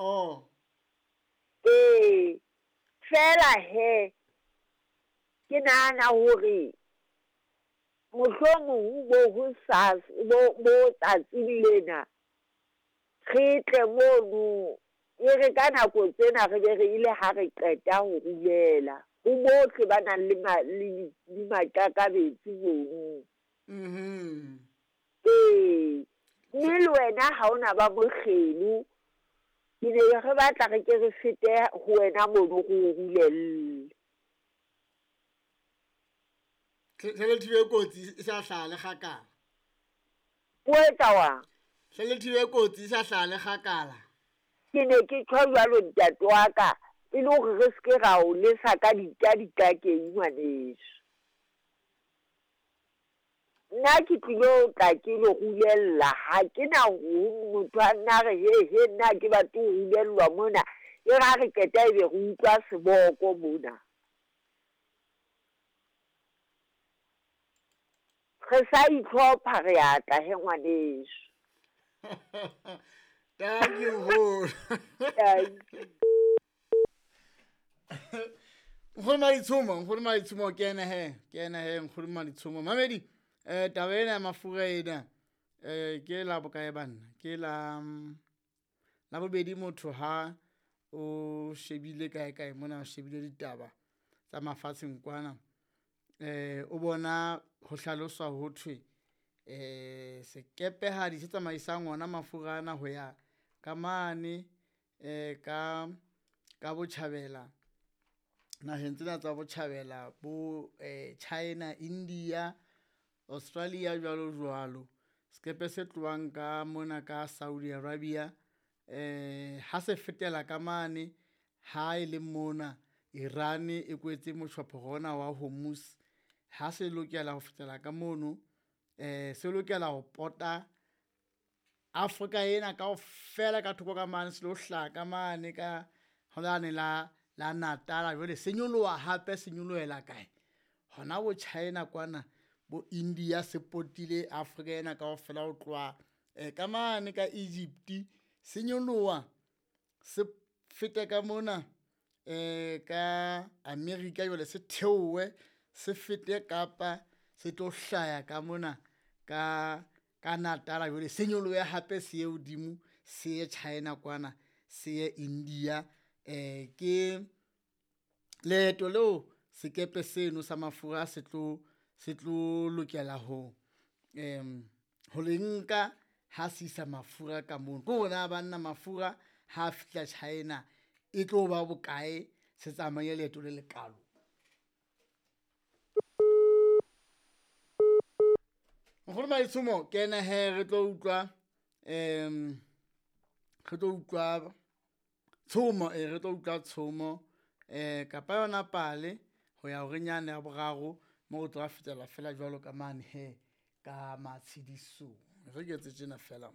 Oh. Ee, fela he ke nahana hore mohlomong bo ho sa bo tsatsing lena re tle mono e re ka nako tsena re be re ile ha re qeta ho rulela ho bohle ba nang le le maqakabetsi mono. Ee, mme le wena ha ona ba mokgelo, ke ne re batla re ke re fete ho wena mono re o rulelle. Hle le thibe kotsi e sa hlaha le kgakala. O etsa wang? Hle le thibe kotsi e sa hlaha le kgakala. Ke ne ke tjho jwalo ntate wa ka, e le hore re seke ra o lesa ka dikakeng ngwaneso. Nna ke tlilo tla ke lo rulella, ha ke na ho motho a nna re he he nna ke batle ho rulellwa mona, e re ha re qeta ebe re utlwa seboko mona. Re sa itlhopha re a tla he ngwaneso. Thank you nkgono. Nkgono Maditshomo, nkgono Maditshomo ke ena he, ke ena he nkgono Maditshomo. Mamedi, taba ena ya mafura ena ke la bokae banna? Ke la la bobedi motho ha o shebile kae kae mona o shebile ditaba tsa mafatsheng kwana. O bona ho hlaloswa ho thwe sekepehadi se tsamaisang ona mafura ana ho ya ka mane ka botjhabela naheng tsena tsa botjhabela bo China, India, Australia jwalo jwalo. Sekepe se tlohang ka mona ka Saudi Arabia ha se fetela ka mane ha e le mona Iran e kwetse motjhophoro ona wa Hormuz, ha se lokela ho fetela ka mono se lokela ho pota Afrika ena kaofela ka thoko ka mane, se lo hlaha ka mane ka holane la la Natal jwale se nyoloha hape se nyolohela kae hona bo China kwana bo India se potile Afrika ena kaofela ho tloha ka mane ka Egypt se nyoloha se fete ka mona ka America jwale se theohe se fete Kapa se tlo hlaya ka mona ka Natal jwale se nyolohe hape se ye hodimo se ye China kwana se ye India. Ke leeto leo sekepe seno sa mafura se tlo lokela ho ho le nka ha se isa mafura ka mono. Ke hore na banna mafura ha fihla China e tlo ba bokae se tsamaye leeto le lekalo. Nkgono Maditshomo ke ena he re tlo utlwa re tlo utlwa tshomo re tlo utlwa tshomo kapa yona pale ho ya horeng yane ya boraro mo re tlo fetela fela jwalo ka mane he ka matshedisong. Re ke etse tjena fela.